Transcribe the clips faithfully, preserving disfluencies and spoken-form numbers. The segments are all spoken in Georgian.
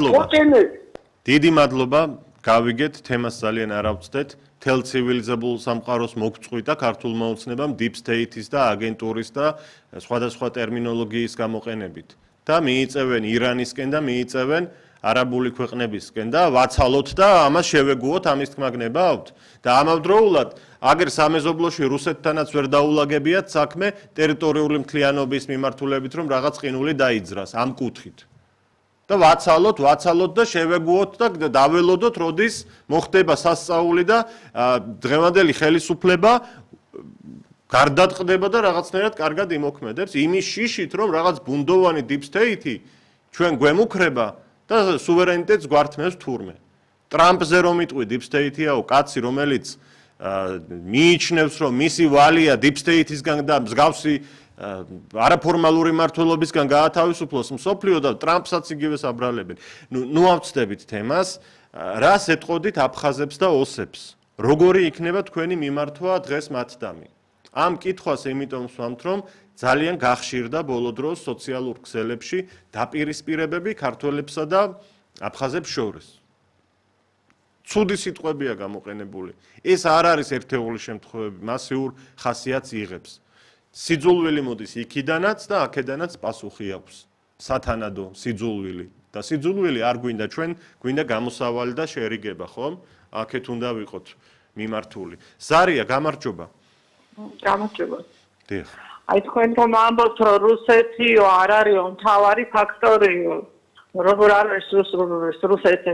დიდი მადლობა, გავიგეთ, თემას ძალიან არ ავწდეთ. თელ ცივილიზებულ სამყაროს მოგწყვიტა ქართულმა ოცნებამ deep state-ის და აგენტურის და სხვადასხვა ტერმინოლოგიის გამოყენებით. და მიიწევენ ირანისკენ და მიიწევენ არაბული ქვეყნებისკენ და ვაცალოთ და ამას შევეგუოთ, ამის თქმა გნებავთ. და ამავდროულად, აგერ სამეზობლოში რუსეთთანაც ვერ დაულაგებიათ საქმე ტერიტორიული მთლიანობის მიმართულებით, რომ რაღაც ყინული დაიძრას ამ კუთხით. და ვაცალოთ, ვაცალოთ და შევეგუოთ და დაველოდოთ, როდის მოხდება სასწაული და დღევანდელი ხელისუფლება გარდატყდება და რაღაცნაირად კარგად იმოქმედებს იმის შიშით, რომ რაღაც ბუნდოვანი deep state-ი ჩვენ გვემუქრება და სუვერენიტეტს გვართმევს თურმე. ტრამპზე რომ იტყვი deep state-იაო, კაცი, რომელიც მიიჩნევს, რომ მისი ვალია deep state-ისგან და მსგავსი არაფორმალური მმართველობისგან გაათავისუფლოს მსოფლიო და ტრამპსაც იგივეს აბრალებენ. ნუ ავწდებით თემას, რას ეტყოდით აფხაზებს და ოსებს? როგორი იქნება თქვენი მიმართვა დღეს მათდამი? ამ კითხვას იმიტომ ვსვამთ, რომ ძალიან გახშირდა ბოლო დროს სოციალურ ქსელებში დაპირისპირებები ქართველებსა და აფხაზებს შორის. ცუდი სიტყვებია გამოყენებული. ეს არ არის ერთეული შემთხვევები, მასიურ ხასიათს იღებს. სიძულვილი მოდის იქიდანაც და აქედანაც პასუხი აქვს. სათანადო სიძულვილი და სიძულვილი არ გვინდა ჩვენ, გვინდა გამოსავალი და შერიგება, ხომ? აქეთ უნდა ვიყოთ მიმართული. ზარია, გამარჯობა. გამარჯობა. დიახ. აი თქვენ რომ ამბობთ, რომ რუსეთიო არ არისო მთავარი ფაქტორიო. როგორ არის რუსეთი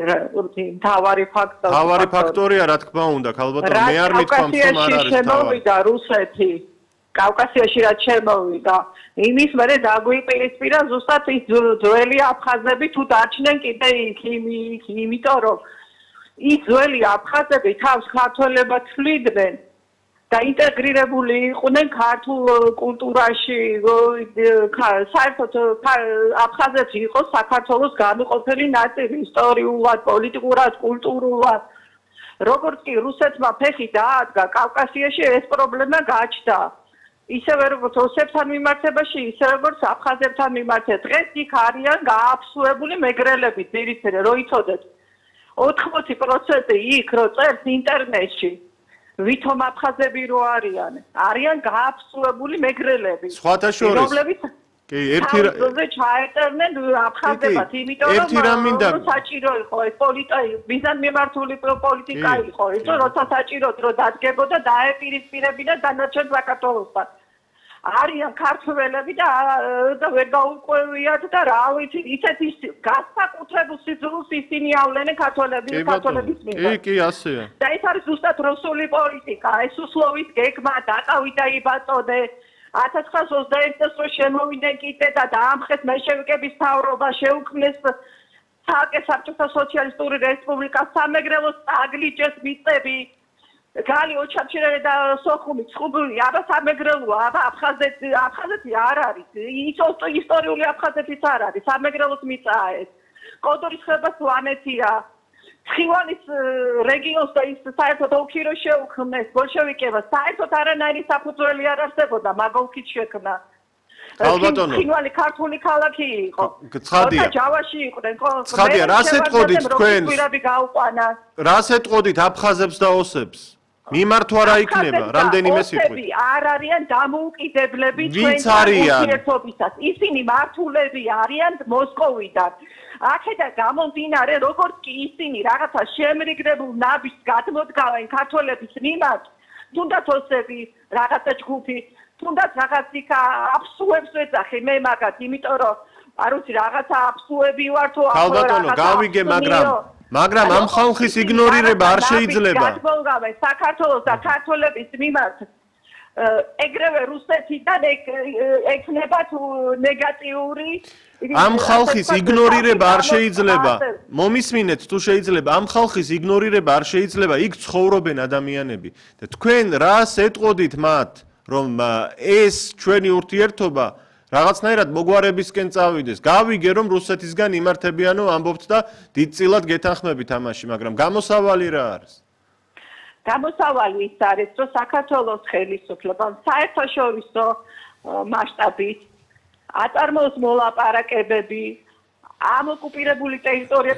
მთავარი ფაქტორი? მთავარი ფაქტორია, რა თქმა უნდა, ქალბატონო, მე არ მithქვამს, რომ არ არის მთავარი. და რუსეთი კავკასიაში რაც შემოვიდა, იმის მერე დაგვიპირისპირა ზუსტად ის ძველი აფხაზები თუ დარჩნენ კიდე იქ, იმიტომ რომ ის ძველი აფხაზები თავს ქართველებად თვლიდნენ და ინტეგრირებული იყვნენ ქართულ კულტურაში, საერთოდ აფხაზეთი იყო საქართველოს განუყოფელი ნაწილი, ისტორიულად, პოლიტიკურად, კულტურულად. როგორც კი რუსეთმა ფეხი დაადგა კავკასიაში, ეს პრობლემა გაჩნდა. ისევე როგორც ოსებთან მიმართებაში, ისე როგორც აფხაზებთან მიმართება. დღეს იქ არიან გააფსუებული მეგრელები, ძირითადად, რო იცოდეთ. ოთხმოცი პროცენტი იქ რო წერს ინტერნეტში, ვითომ აფხაზები რო არიან, არიან გააფსუებული მეგრელები. სხვათა შორის. რომლებიც კი, ერთი რამზე ჩაეწერნენ აფხაზებად, იმიტომ რომ საჭირო იყო ეს პოლიტიკა, მიზანმიმართული პოლიტიკა იყო, ეს როცა საჭიროდ რო დადგებოდა დაეპირისპირებინა დანარჩენ საქართველოსთან. არიან ქართველები და და ვერ გაუკვევიათ და რა ვიცი, ისეთი განსაკუთრებულ სიძულვილს ისინი ავლენენ ქართველები ქართველების მიმართ. კი, კი, ასეა. და ეს არის ზუსტად რუსული პოლიტიკა, ეს უსლოვის გეგმა, დაკავიდა იბატონე. ათას ცხრაას ოცდაერთი წელს შემოვიდნენ კიდე და დაამხეს მეშევიკების მთავრობა, შეუქმნეს ცალკე საბჭოთა სოციალისტური რესპუბლიკა, სამეგრელოს აგლიჯეს მიწები, გალი ოჩამჩირელი და სოხუმი, ცხუბული, აბა სამეგრელოა, აბა აფხაზეთი, აფხაზეთი არ არის, ისტორიული აფხაზეთიც არ არის, სამეგრელოს მიწაა ეს. კოდორის ხება სვანეთია. ცხივანის რეგიონს და ის საერთოდ ოლქი რო შეუქმნეს ბოლშევიკებმა, საერთოდ არანაირი საფუძველი არ არსებობდა, მაგ ოლქით შექმნა. ქალბატონო, ცხივანი ქართული ქალაქი იყო. ცხადია. ჯავაში იყვნენ. ცხადია, რას ეტყოდით თქვენ? გაუყვანა. რას ეტყოდით აფხაზებს და ოსებს? მიმართვა რა იქნება, რამდენიმე სიტყვით. არ არიან დამოუკიდებლები ვინც არიან? ერთობისას. ისინი მართულები არიან მოსკოვიდან. აქედან გამომდინარე, როგორც კი ისინი რაღაცა შემრიგდებულ ნაბიჯს გადმოდგავენ ქართველების მიმართ, თუნდაც ოსები, რაღაცა ჯგუფი, თუნდაც რაღაც იქ აფსუებს ეძახი მე მაგათ, იმიტომ რომ არ ვიცი რაღაცა აფსუები ვარ თუ ახლა ქალბატონო, გავიგე, მაგრამ მაგრამ ამ ხალხის იგნორირება არ შეიძლება. გადმოდგავენ საქართველოს და ქართველების მიმართ ეგრევე რუსეთიდან ექნება თუ ნეგატიური ამ ხალხის იგნორირება არ შეიძლება. მომისმინეთ თუ შეიძლება, ამ ხალხის იგნორირება არ შეიძლება, იქ ცხოვრობენ ადამიანები. და თქვენ რას ეტყოდით მათ, რომ ეს ჩვენი ურთიერთობა რაღაცნაირად მოგვარებისკენ წავიდეს? გავიგე, რომ რუსეთისგან იმართებიანო ამბობთ და დიდწილად გეთანხმებით ამაში, მაგრამ გამოსავალი რა არის? გამოსავალი ის არის, რომ საქართველოს ხელისუფლებამ საერთაშორისო მასშტაბით აწარმოოს მოლაპარაკებები, ამ ოკუპირებული ტერიტორიების